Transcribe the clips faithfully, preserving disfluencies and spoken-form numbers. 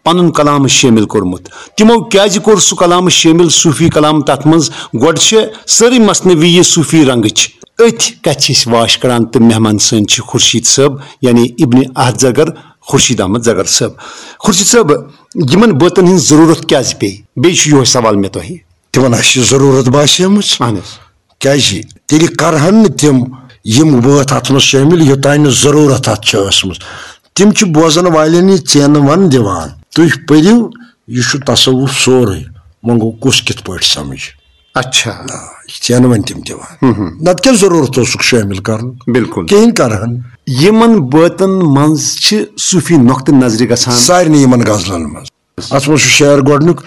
پنُن کلام شٲمِل کوٚرمُت؟ تِمو کیازِ کوٚر سُہ کلام شٲمِل صوٗفی کلام تتھ منٛز؟ گۄڈٕ چھِ سٲرٕے مثنوی یہِ صوٗفی رنگٕچ۔ أتھۍ کتھِ چھِ أسۍ واش کران تہٕ مہمان سٲنۍ چھِ خورشید صٲب، یعنی ابن احد زرگر، خورشید احمد زرگر صٲب۔ خورشید صٲب، یِمن بٲتن ہٕنٛز ضروٗرت کیازِ پیٚیہِ؟ بیٚیہِ چھُ یِہوے سوال مےٚ تۄہہِ۔ تِمن آسہِ یہِ ضروٗرت باسیمٕژ۔ اہن حظ۔ کیازِ تیٚلہِ کرہن نہٕ تِم یِم بٲتھ اتھ منٛز شٲمِل، یوٚتانۍ نہٕ ضروٗرت اتھ چھِ ٲسمٕژ۔ تِم چھِ بوزن والٮ۪ن یہِ ژینہٕ ون دِوان، تُہۍ پٔرِو، یہِ چھُ تصوف سورُے، وۄنۍ گوٚو کُس کِتھ پٲٹھۍ سمجھ؟ اچھا۔ آ، یہِ ژینہٕ ون تِم دِوان۔ نتہٕ کیٛاہ ضروٗرت اوسُکھ شٲمِل کرُن؟ بِلکُل۔ کِہیٖنۍ کرہن۔ یِمن بٲتن منٛز چھِ صوٗفی نۄقطہٕ نظرِ گژھان۔ سارنٕے یِمن غزلن منٛز۔ اتھ منٛز چھُ شعر گۄڈٕنیُک،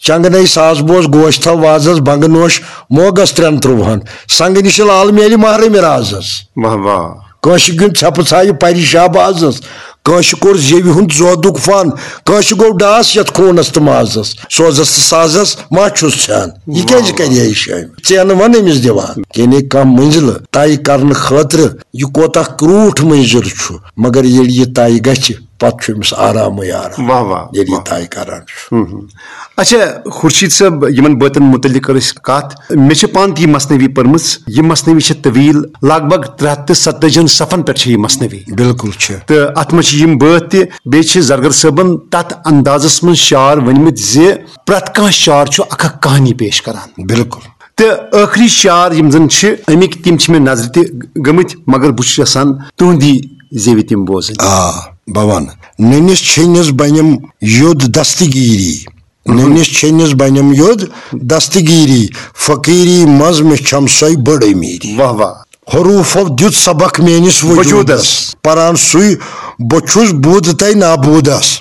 چنگنے ساز بوز گوش تھاو وازس، بنگہٕ نوش موگس ترٛٮ۪ن ترٛووہن، سنگہٕ نِش لال میلہِ محرم رازس۔ واہ واہ۔ کٲنٛسہِ گیُنٛد ژھٮ۪پہٕ ژھایہِ پرِ شہبازس، کٲنٛسہِ کوٚر زیوِ ہُنٛد زودُک فن، کٲنٛسہِ گوٚو ڈاس یتھ خوٗنس تہٕ مازس، سوزس تہٕ سازس ما چھُس ژھٮ۪ن۔ یہِ کیٛازِ کرِ ہے یہِ شٲمِل؟ ژینہٕ ون أمِس دِوان، یعنی کانٛہہ منزلہٕ طے کرنہٕ خٲطرٕ یہِ کوتاہ کرٛوٗٹھ منزل چھُ، مگر ییٚلہِ یہِ طے گژھِ، پتہٕ چھُ أمِس آرامٕے آرام۔ واہ واہ، ییٚلہِ یہِ واہ۔ طے کران چھُ۔ ہم ہم۔ اچھا، خورشید صٲب، یِمن بٲتن متعلق کٔر اَسہِ کتھ۔ مےٚ چھِ پانہٕ تہِ یہِ مثنوی پٔرمٕژ۔ یہِ مثنوی چھِ طویل، لگ بھگ ترٛےٚ ہتھ تہٕ ستٲجی ہن صفن پٮ۪ٹھ چھِ یہِ مثنوی۔ بِلکُل چھِ۔ تہٕ اتھ منٛز چھِ یِم بٲتھ تہِ، بیٚیہِ چھِ زرگر صٲبن تتھ اندازس منٛز شعر ؤنۍمٕتۍ زِ پرٛٮ۪تھ کانٛہہ شعر چھُ اکھ اکھ کہانی پیش کران۔ بِلکُل۔ تہٕ ٲخری شعر یِم زن چھِ اَمِکۍ، تِم چھِ مےٚ نظرِ تہِ گٔمٕتۍ، مگر بہٕ چھُس یژھان تُہنٛدی زیوِ تِم بوزٕنۍ۔ آ، بہٕ وَنہٕ۔ نٔنِس چھٔنِس بنٮ۪م یوٚد دستگیٖری، نٔنِس چھٔنِس بنٮ۪م یوٚد دستگیٖری، فقیٖری منٛز مےٚ چھم سۄے بٔڑ أمیٖری۔ واہ واہ۔ حروٗفو دیُت سبق میٲنِس وجوٗدس۔ وجوٗدس۔ پران سُے بہٕ چھُس بود تَے نابودس۔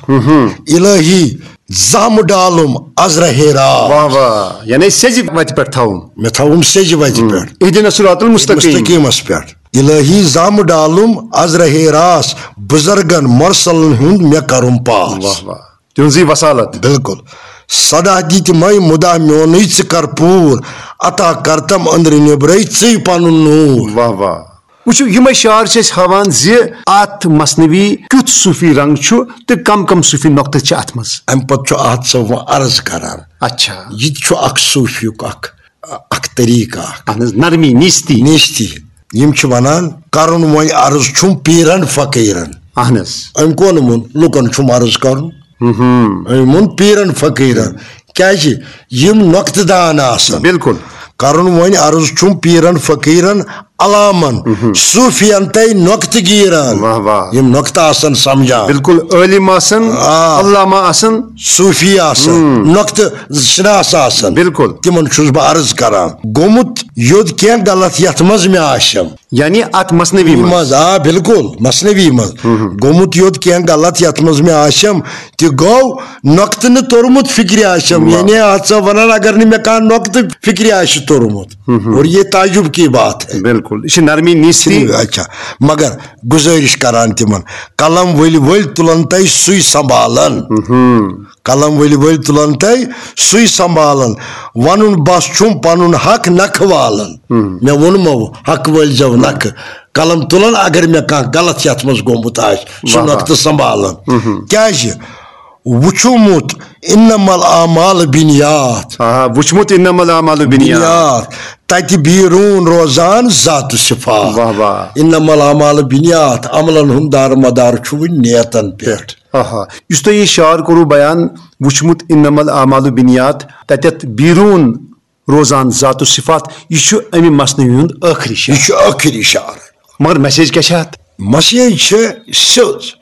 الہی زامہٕ ڈالُم از رہے راز۔ واہ واہ، یعنی سیٚزِ وتہِ پٮ۪ٹھ تھاوُم۔ مےٚ تھاوُم سیٚزِ وتہِ پٮ۪ٹھ۔ اہدنا الصراط المستقیم۔ مستقیمس پٮ۪ٹھ۔ الہی زامہٕ ڈالُم از رہے راس، بزرگن مرسلن ہُنٛد مےٚ کرُم پاس۔ واہ واہ، تِہنٛزٕے وسالت۔ بِلکُل۔ سدا دِتۍ مے مُدا میونُے ژٕ کر پوٗر، عطا کرتم أنٛدرٕ نیٚبرَے ژٕے پنُن نوٗر۔ واہ واہ۔ وٕچھِو، یِمے شعر چھِ اَسہِ ہاوان زِ اَتھ مثنوی کیُتھ صوٗفی رنٛگ چھُ تہٕ کم کم صوٗفی نۄقطہٕ چھِ اَتھ منٛز۔ اَمہِ پتہٕ چھُ احد صٲب وۄنۍ عرض کران۔ اچھا۔ یہِ تہِ چھُ اکھ صوٗفیُک اکھ، اکھ طریٖقہٕ اکھ۔ اہن حظ، نرمی نیستی۔ نیستی۔ یِم چھِ وَنان، کرُن وۄنۍ عرض چھُم پیٖرن فقیٖرن۔ اہن حظ۔ أمۍ کون ووٚن لُکن چھُم عرض کرُن؟ ہم۔ أمۍ ووٚن پیٖرن فقیٖرن۔ کیازِ؟ یِم نۄقطہٕ دان آسن۔ بِلکُل۔ کرُن وۄنۍ عرض چھُم پیٖرن فقیٖرن، علامن، صوٗفین تہٕ نۄقطہٕ گیٖرن۔ واہ واہ۔ یِم نۄقطہٕ آسن سمجھان۔ بِلکُل، عٲلِم آسن، آ۔ علامہ آسن۔ صوٗفی آسن، نۄقطہٕ شناس آسن۔ بِلکُل۔ تِمن چھُس بہٕ عرض کران۔ گوٚمُت یوٚد کینٛہہ غلط یتھ منٛز مےٚ آسٮ۪م۔ یعنی اتھ مثنوی منٛز۔ منٛز، آ، بِلکُل، مثنوی منٛز۔ گوٚمُت یوٚد کینٛہہ غلط یتھ منٛز مےٚ آسٮ۪م، تہِ گوٚو نۄقطہٕ نہٕ توٚرمُت فِکرِ آسٮ۪م۔ واہ۔ یعنی اتھ ژٕ ونان، اگر نہٕ مےٚ کانٛہہ نۄقطہٕ فِکرِ آسہِ توٚرمُت۔ اور یہ تعجب کی بات ہے۔ بِلکُل، یہِ چھِ نرمی نیستی۔ اچھا، مگر گُزٲرِش کران تِمن، قلم ؤلۍ ؤلۍ تُلن تَے سُے سنبھالن۔ قلم ؤلۍ ؤلۍ تُلن تَے سُے سنبھالن۔ ونُن بس چھُم پنُن حق نکھٕ والن۔ مےٚ ووٚنمو حق وٲلۍ زٮ۪و نکھٕ۔ قلم تُلن اگر مےٚ کانٛہہ غلط یتھ منٛز گوٚمُت آسہِ، سُہ واہ واہ۔ نۄقطہٕ سنبھالن۔ کیازِ؟ وُچھمُت انما الاعمال بنیات۔ آ، وُچھمُت انما الاعمال بنیات۔ بنیات۔ تتہِ بیرون روزان ذات و صفات۔ واہ واہ۔ انما الاعمال بنیات، عملن ہُنٛد دار مدار چھُ وُنہِ نیتن پٮ۪ٹھ۔ آہا۔ یُس تۄہہِ یہِ شعر کوٚروٕ بیان، وُچھمُت انما الاعمال بنیات، تتٮ۪تھ بیرون روزان ذات و صفات، یہِ چھُ امہِ مثنوی ہُنٛد ٲخری شعر۔ یہِ چھُ ٲخری شعر۔ مگر message کیٛاہ چھِ اتھ؟ Message چھِ سیوٚد۔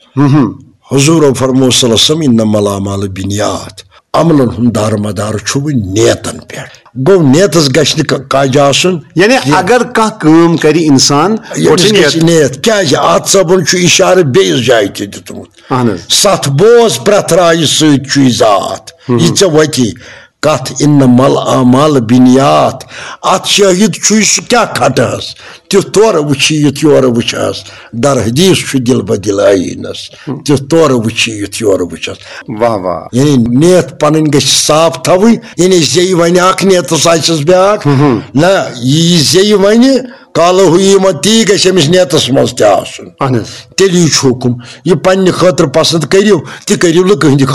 حضور فرمو صلی اللہ علیہ وسلم، انما الاعمال بنیات، عملن ہُنٛد دار مدار چھُ وۄنۍ نیتن پٮ۪ٹھ۔ گوٚو نیتس گژھِ نہٕ کا-، کاجہِ آسُن یعنی کینٛہہ۔ اگر کانٛہہ کٲم کرِ انسان، ییٚمِس گۄڈٕ چھِ گژھِ نیت۔ نیت۔ کیٛازِ؟ اتھ صٲبن چھُ اشارٕ بیٚیِس جایہِ تہِ دیُتمُت۔ اہن حظ۔ ستھ بوز پرٛٮ۪تھ رایہِ سۭتۍ چھُے ذات۔ یہِ ژےٚ وتی کتھ، انما الاعمال بنیات۔ اتھ شٲہد چھُے سُہ کیٛاہ کھٹہس، تیُتھ تورٕ وٕچھی یُتھ یورٕ وٕچھس۔ در حدیث چھُ دل بدل آیینس، تیُتھ تورٕ وٕچھی یُتھ یورٕ وٕچھس۔ واہ واہ۔ یعنی نیت پنٕنۍ گژھِ صاف تھاوٕنۍ، یعنی زیٚیہِ ونہِ اکھ نیتس آسٮ۪س بیٛاکھ۔ نہ، یہِ زیٚیہِ ونہِ، قالہ یہِ ما تی گژھِ أمِس نیتس منٛز تہِ آسُن۔ اہن حظ۔ تیٚلہِ یہِ چھُ حُکُم، یہِ پننہِ خٲطرٕ پسند کٔرِو، تہِ کٔرِو نہٕ کٕہٕنٛدِ